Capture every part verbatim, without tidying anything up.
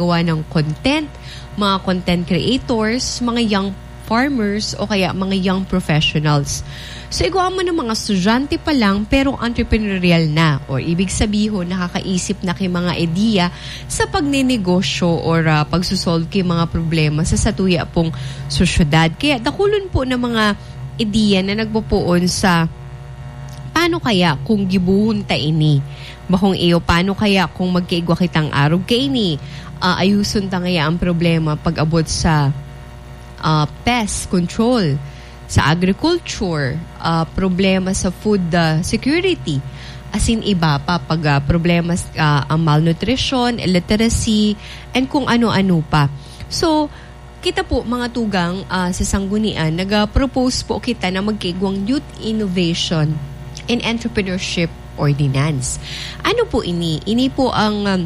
gawa ng content, mga content creators, mga young farmers, o kaya mga young professionals. So, igwa man ng mga estudyante pa lang, pero entrepreneurial na, or ibig sabihin, nakakaisip na kay mga ideya sa pagnenegosyo or, ah, pagsusolve kay mga problema sa satuya pong sosyedad. Kaya dakulon po ng mga ideya na nagpupuon sa, "Paano kaya kung gibohon ta ini?" Bakong iyo, "Paano kaya kung magkaigwa kitang arog kaini? Ah, ayuson ta ngaya ang problema pag-abot sa, ah, pest control, sa agriculture, ah, problema sa food, ah, security, asin iba pa, pag, ah, problema, ah, ang malnutrition, illiteracy, and kung ano-ano pa." So, kita po, mga tugang, ah, sa Sanggunian, nag-propose po kita na magkaigwang Youth Innovation and Entrepreneurship Ordinance. Ano po ini? Ini po ang, um,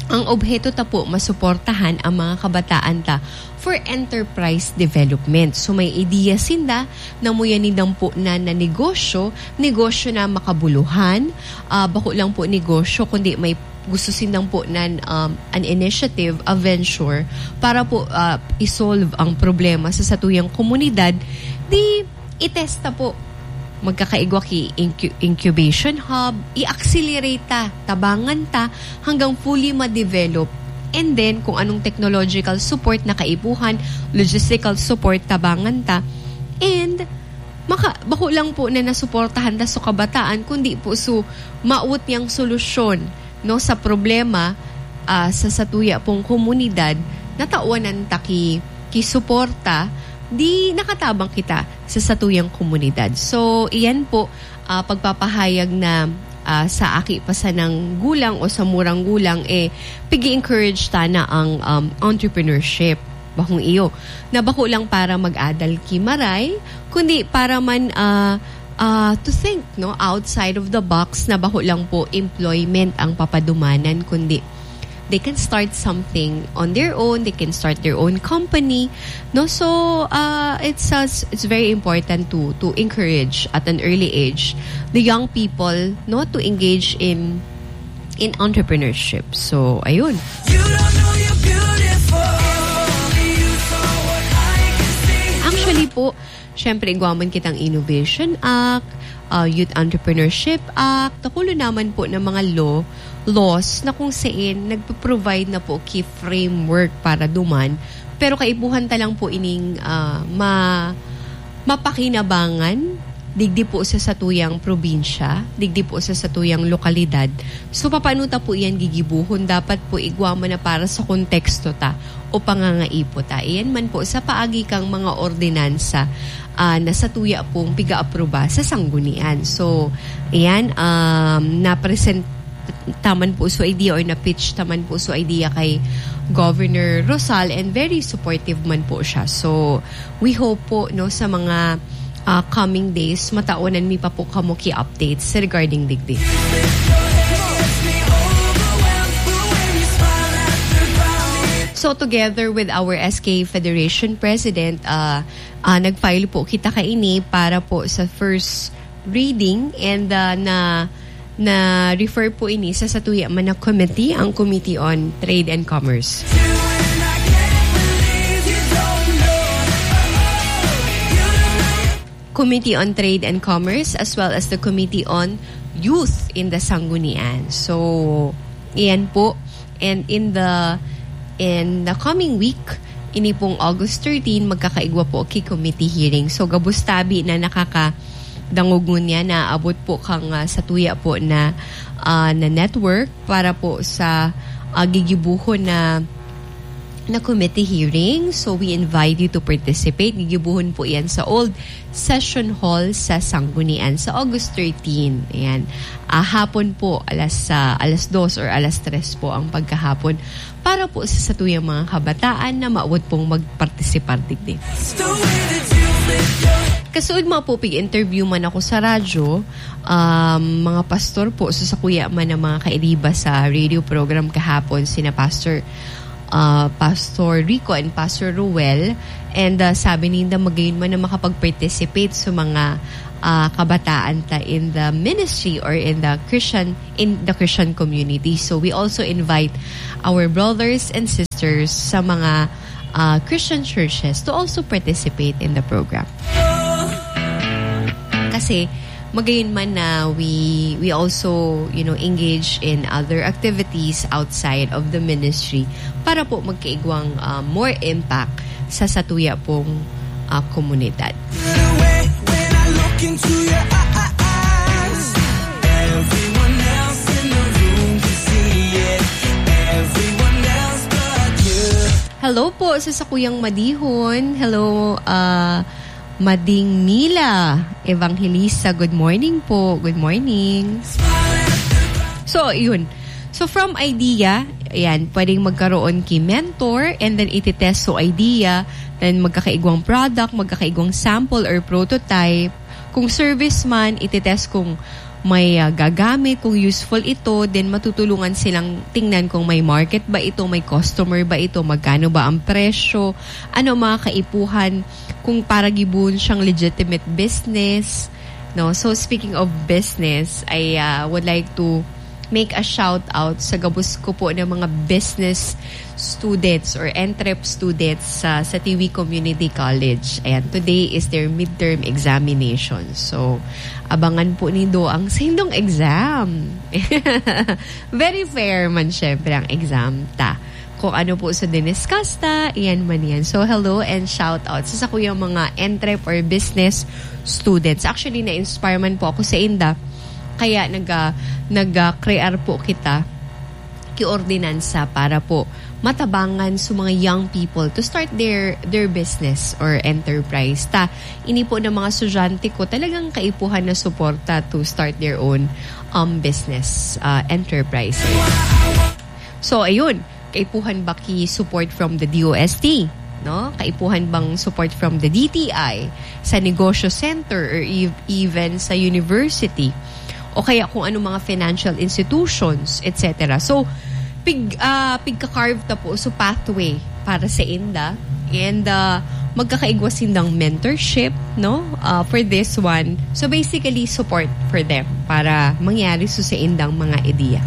ang obheto ta po, masuportahan ang mga kabataan ta for enterprise development. So, may ideya sinda na muya nindang po na, na negosyo, negosyo na makabuluhan, ah, bako lang po negosyo, kundi may gusto sindang po nan, um, an initiative, a venture para po, ah, i-solve ang problema sa satuyang komunidad, di itesta po. Magkakaigwa ki incu-, incubation hub, i-accelerate ta, tabangan ta hanggang fully ma-develop. And then, kung anong technological support na kaipuhan, logistical support, tabangan ta. And maka-, bako lang po na nasuportahan ta sa kabataan, kundi po su-, maawot niyang solusyon, no, sa problema, ah, sa satuya pong komunidad, natawanan ta ki, ki suporta, di nakatabang kita sa satuyang komunidad. So, iyan po, ah, pagpapahayag na, ah, sa aki pa sanang gulang o sa murang gulang, eh, pig-encourage ta na ang, um, entrepreneurship. Bakong iyo, na bako lang para mag-adal ki maray, kundi para man, ah, ah, to think, no, outside of the box, na bako lang po employment ang papadumanan, kundi they can start something on their own, they can start their own company, no? So, ah, it's, uh, it's very important to, to encourage at an early age the young people, no, to engage in, in entrepreneurship. So, ayun. You don't know you're beautiful. Only you saw what I can see. Actually po, syempre, igwa man kitang Innovation Act, ah, Youth Entrepreneurship Act, dakulo naman po ng mga law, laws na kung saan nagpo-provide na po ki framework para duman. Pero kaipuhan ta lang po ining, ah, ma-, mapakinabangan, digdi po sa satuyang probinsya, digdi po sa satuyang lokalidad. So, papaano ta po iyan gigibuhon? Dapat po igwa man na para sa konteksto ta o pangangaipo ta. Iyan man po sa paagi kang mga ordinansa, ah, na satuya pong piga-aproba sa sanggunian. So, iyan, um, na-present taman po so idea or na-pitch taman po so idea kay Governor Rosal, and very supportive man po siya. So, we hope po, no, sa mga, ah, coming days, mataonan mi pa po kamo ki updates regarding digdi. So, together with our S K Federation President, ah, ah, nag-file po kita kaini para po sa first reading, and, ah, na, na-refer po ini sa satuya man na committee, ang Committee on Trade and Commerce. Committee on Trade and Commerce, as well as the Committee on Youth in the Sanggunian. So, iyan po. And in the, in the coming week, ini pong August thirteen, magkakaigwa po ki committee hearing. So, gabos tabi na nakakadangog ngunyan, naabot po kang, ah, satuya po na, ah, na network para po sa, ah, gigibuhon na, na committee hearing. So, we invite you to participate. Gigibuhon po yan sa old session hall sa Sanggunian sa August thirteen. Ayan. Ah, hapon po, alas, ah, alas dos or alas tres po ang pagkahapon para po sa satuyang mga kabataan na maawot pong magpartisipar digdi. Kasuod mga po, pig-interview man ako sa radyo, um, mga pastor po, so sa kuya man ang mga kairiba sa radio program kahapon, sina Pastor ah, Pastor Rico and Pastor Ruel. And, ah, sabi ninda, magayon man na makapag-participate sa mga, ah, kabataan ta in the ministry or in the Christian, in the Christian community. So, we also invite our brothers and sisters pastors sa mga, ah, Christian churches to also participate in the program. Kasi, magayon man na we, we also, you know, engage in other activities outside of the ministry para po magkaigwang, ah, more impact sa satuya pong, ah, komunidad. When I look into your eyes, everyone else in the room can see it. Everyone else but you. Hello po sa sakuyang Madihon. Hello, ah, Mading Mila Evangelista. Good morning po. Good morning. So, yun. So, from idea, ayan, pwedeng magkaroon ki mentor and then ititest so idea, then magkakaigwang product, magkakaigwang sample or prototype. Kung service man, ititest kung may, ah, gagamit, kung useful ito, then matutulungan silang tingnan kung may market ba ito, may customer ba ito, magkano ba ang presyo, ano ang mga kaipuhan, kung para gibohon siyang legitimate business, no? So, speaking of business, I, ah, would like to make a shout out sa gabos ko po ng mga business students or entrep students sa, sa Tiwi Community College. Ayan, today is their midterm examination. So, abangan po nindo ang saindong exam. Very fair man, syempre, ang exam ta. Kung ano po sa diniscuss ta, iyan man yan. So, hello and shout out sa sakuyang mga entrep or business students. Actually, na-inspire man po ako sa inda. Kaya nag, ah, nag, ah, crear po kita ki ordinansa para po matabangan sa mga young people to start their, their business or enterprise. Ta, ini po ng mga estudyante ko, talagang kaipuhan na suporta to start their own, um, business, ah, enterprise. So, ayun, kaipuhan ba ki support from the D O S T, no? Kaipuhan bang support from the D T I, sa negosyo center, or ev-, even sa university? O kaya kung anong mga financial institutions, et cetera. So, pig-, ah, pigka-carve ta po, so pathway para sa inda. And, ah, magkakaigwa sindang mentorship, no? Ah, for this one. So, basically, support for them para mangyari so sa indang mga ideya.